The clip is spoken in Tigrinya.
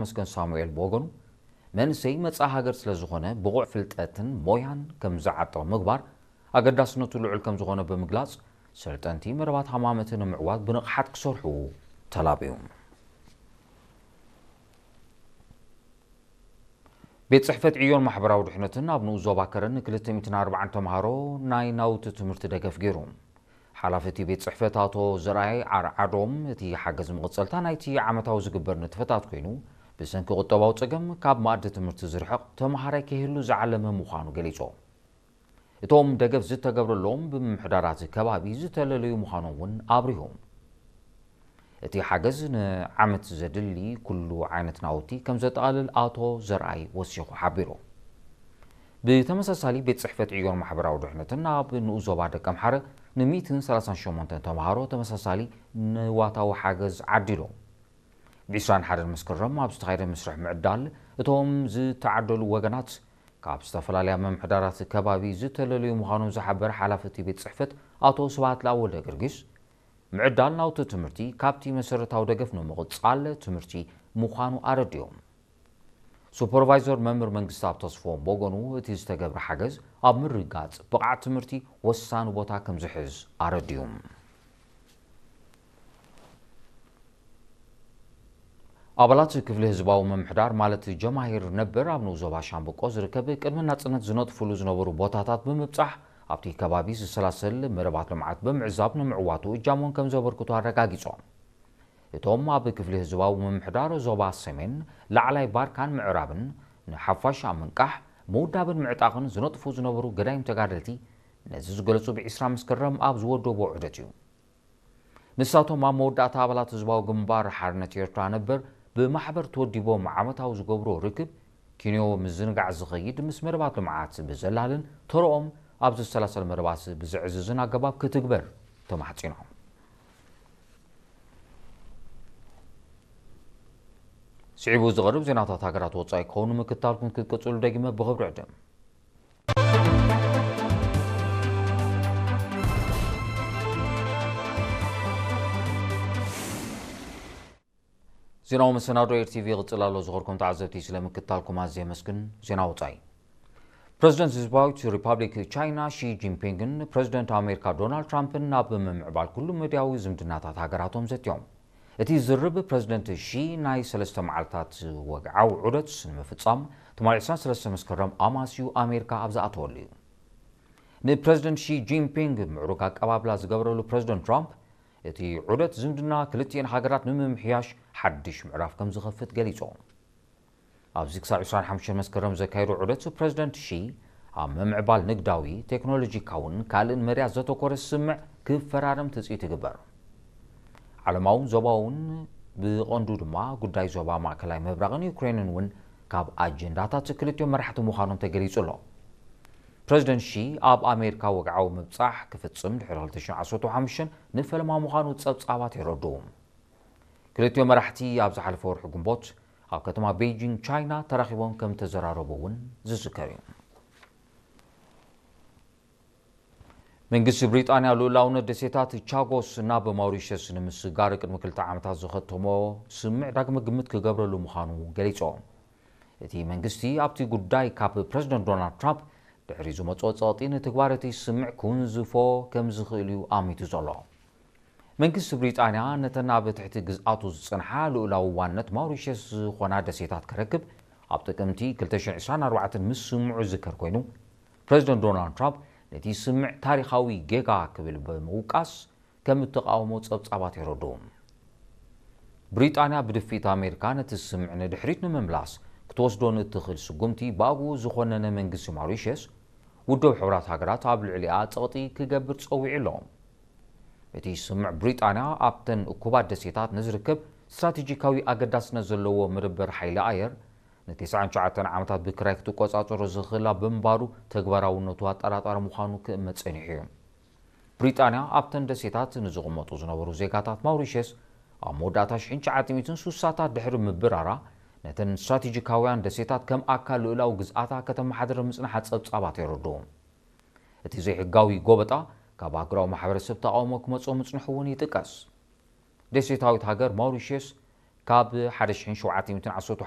መስገን ሳሙኤል ብወገኑ፣ መንእሰይ መጻኢ ሃገር ስለ ዝኾነ ብቑዕ ፍልጠትን ሞያን ከም ዝዓጥቕ ምግባር ኣገዳስነቱ ልዑል ከም ዝኾነ ብምግላጽ፣ ሰልጠንቲ መደባት ሃማመት ንምዕዋት ብንቕሓት ክሰርሑ ተላብዩ። ቤት ጽሕፈት ዕዮን ማሕበራዊ ድሕነትን ኣብ ንኡስ ዞባ ከረን ን ክልተ ሚእትን ኣርባዓን ተምሃሮ ናይ ናውቲ ትምህርቲ ደገፍ ገይሩ። ሓላፊ እቲ ቤት ጽሕፈት ኣቶ ዘርኣይ ዓርዓዶም፣ እቲ ሓገዝ መቐጸልታ ናይቲ ዓመታዊ ዝግበር ንጥፈታት ኮይኑ፣ ብሰንኪ ቁጠባዊ ጸገም ካብ መኣዲ ትምህርቲ ዝርሕቕ ተምሃራይ ከይህሉ ዝዓለመ ምዃኑ ገሊጹ። እቶም ደገፍ ዝተገብረሎም ብምምሕዳራት ከባቢ ዝተለለዩ ምዃኖም እውን ኣብሪሁ። እቲ ሓገዝ ንዓመት ዘድሊ ኩሉ ዓይነት ናውቲ ከም ዘጠቓልል ኣቶ ዘርኣይ ወሲኹ ሓቢሩ። ብተመሳሳሊ፣ ቤት ጽሕፈት ዕዮን ማሕበራዊ ድሕነትን ኣብ ንኡስ ዞባ ደቀምሓረ ን ሚእትን ሰላሳን ሸሞንተን ተምሃሮ ተመሳሳሊ ንዋታዊ ሓገዝ ዓዲሉ። ብ ዕስራን ሓደን መስከረም ኣብ ዝተኻየደ መስርሕ ምዕዳል፣ እቶም ዝተዓደሉ ወገናት ካብ ዝተፈላለያ ምምሕዳራት ከባቢ ዝተለለዩ ምዃኖም ዝሓበረ ሓላፊ እቲ ቤት ጽሕፈት ኣቶ ስብሃት ለኣብ ወልደ ጊዮርጊስ፣ ምዕዳል ናውቲ ትምህርቲ ካብቲ መሰረታዊ ደገፍ ንምቕጻል ትምህርቲ ምዃኑ ኣረዲኦም። ሱፐርቫይዘር መምህር መንግስትኣብ ተስፎም ብወገኑ፣ እቲ ዝተገብረ ሓገዝ ኣብ ምርግጋጽ ብቕዓት ትምህርቲ ወሳኒ ቦታ ከም ዝሕዝ ኣረዲኡ። ኣባላት ክፍሊ ህዝባዊ ምምሕዳር ማለት ጀማሂር ነበር ኣብ ንኡስ ዞባ ሻምበቆ ዝርከብ ቅድሚ ናጽነት ዝነጥፍሉ ዝነበሩ ቦታታት ብምብጻሕ ኣብቲ ከባቢ ዝሰላሰል መደባት ልምዓት ብምዕዛብ ንምዕዋቱ እጃሞም ከም ዘበርክቱ ኣረጋጊጾም። እቶም ኣብ ክፍሊ ህዝባዊ ምምሕዳር ዞባ ሰሜን፣ ላዕላይ ባርካን ምዕራብን ንሓፋሽ ኣብ ምንቃሕ፣ ምውዳብን ምዕጣቕን ዝነጥፉ ዝነበሩ ገዳይም ተጋደልቲ ነዚ ዝገለጹ ብ ዕስራ መስከረም ኣብ ዝወደቦ ዑደት እዩ። ንሳቶም ኣብ መወዳእታ ኣባላት ህዝባዊ ግንባር ሓርነት ኤርትራ ነበር ብማሕበር ተወዲቦም ዓመታዊ ዝገብሮ ርክብ ኪንዮ ምዝንጋዕ ዝኸይድ ምስ መደባት ልምዓት ብዘላልን ተረኦም ኣብ ዝሰላሰል መደባት ብዘዕዝዝን ኣገባብ ክትግበር ተማሕጺኖም። ስዒቡ ዝቐርብ ዜናታት ሃገራት ወጻኢ ክኸውን ምክታልኩም ክትቅጽሉ ደጊመ ብኽብሪ ዕድም። ዜናዊ መሰናዶ ኤር ቲቪ ይቕጽል ኣሎ። ዝኸርኩም ተዓዘብቲ ስለ ምክታልኩም ኣዝየ የመስግን። ዜና ወጻኢ። ፕረዚደንት ህዝባዊት ሪፓብሊክ ቻይና ሺ ጂንፒንግን ፕረዚደንት ኣሜሪካ ዶናልድ ትራምፕን ናብ ምምዕባል ኩሉ መድያዊ ዝምድናታት ሃገራቶም ዘትዮም። እቲ ዝርርብ ፕረዚደንት ሺ ናይ ሰለስተ መዓልታት ወግዓዊ ዑደት ንምፍጻም ትማሊ ዕስራን ሰለስተን መስከረም ኣማስዩ ኣሜሪካ ኣብ ዝኣተወሉ እዩ። ንፕረዚደንት ሺ ጂንፒንግ ምዕሩግ ኣቀባብላ ዝገበረሉ ፕረዚደንት ትራምፕ፣ እቲ ዑደት ዝምድና ክልቲኤን ሃገራት ንምምሕያሽ ሓድሽ ምዕራፍ ከም ዝኸፍት ገሊጹ። ኣብዚ ክሳብ ዕስራን ሓሙሽተን መስከረም ዘካየዶ ዑደት ፕረዚደንት ሺ ኣብ ምምዕባል ንግዳዊ፣ ቴክኖሎጂካውን ካልእን መድያት ዘተኮረ ስምምዕ ክፈራረም ትጽቢት ይግበር። ዓለማውን ዞባውን ብቐንዱ ድማ ጉዳይ ዞባ ማእከላይ ምብራቕን ዩክሬንን እውን ካብ ኣጀንዳታት ክልቲኦም መራሕቲ ምዃኖም ተገሊጹ ኣሎ። ፕረዚደንት ሺ ኣብ ኣሜሪካ ወግዓዊ ምብጻሕ ክፍጽም ድሕሪ ክልተ ሽሕን ዓሰርተ ሓሙሽተን ንፈለማ ምዃኑ ጸብጻባት የረድኡ። ክልቲኦም መራሕቲ ኣብ ዝሓለፈ ወርሒ ግንቦት ኣብ ከተማ ቤይጂንግ ቻይና ተራኺቦም ከም ተዘራረቡ እውን ዝዝከር እዩ። መንግስቲ ብሪጣንያ ልኡላውነት ደሴታት ቻጎስ ናብ ማውሪሸስ ንምስጋር ቅድሚ ክልተ ዓመታት ዝኸተሞ ስምምዕ ዳግመ ግምት ክገብረሉ ምዃኑ ገሊጹ። እቲ መንግስቲ ኣብቲ ጉዳይ ካብ ፕረዚደንት ዶናልድ ትራምፕ ድሕሪ ዝመጽኦ ጸቕጢ ንትግባር እቲ ስምምዕ ክውንዝፎ ከም ዝኽእል እዩ ኣሚቱ ዘሎ። መንግስቲ ብሪጣንያ ነተን ኣብ ትሕቲ ግዝኣቱ ዝጸንሓ ልኡላዊ ዋንነት ማውሪሸስ ዝኾና ደሴታት ከረክብ ኣብ ጥቅምቲ ክልተ ሽሕን ዕስራን ኣርባዕተን ምስምዑ ዝዝከር ኮይኑ፣ ፕረዚደንት ዶናልድ ትራምፕ ነቲ ስምምዕ ታሪኻዊ ጌጋ ክብል ብምውቃስ ከም እተቓወሞ ጸብጻባት የረድኡ። ብሪጣንያ ብድፍኢት ኣሜሪካ ነቲ ስምምዕ ንድሕሪት ንምምላስ ክትወስዶ ንእትኽእል ስጉምቲ ብኣግኡ ዝኾነነ መንግስቲ ማውሪሸስ፣ ውድብ ሕቡራት ሃገራት ኣብ ልዕሊኣ ጸቕጢ ክገብር ጸዊዑ ኣሎ። እቲ ስምምዕ ብሪጣንያ ኣብተን እኩባት ደሴታት ንዝርከብ ስትራቴጂካዊ ኣገዳስነት ዘለዎ መደበር ሓይሊ ኣየር ንተስዓን ትሽዓተን ዓመታት ብክራይ ክትቆጻጸሮ ዝኽእላ ብምንባሩ ተግባራውነቱ ኣጠራጣሪ ምዃኑ ክእመት ጸኒሑ እዩ። ብሪጣንያ ኣብተን ደሴታት ንዝቕመጡ ዝነበሩ ዜጋታት ማውሪሸስ ኣብ መወዳእታ ሽሕን ትሽዓተ ሚእትን ስሳታት ድሕሪ ምብራራ ነተን ስትራቴጂካውያን ደሴታት ከም ኣካል ልኡላዊ ግዝኣታ ከተመሓድር ምጽንሓ ጸብጻባት የረድኡ። እቲ ዘይሕጋዊ ጎበጣ ካብ ኣህጉራዊ ማሕበረሰብ ተቓውሞ ክመጾ ምጽንሑ እውን ይጥቀስ። ደሴታዊት ሃገር ማውሪሽየስ ካብ ሓደ ሽሕን ሸውዓተ ሚእትን ዓሰርተ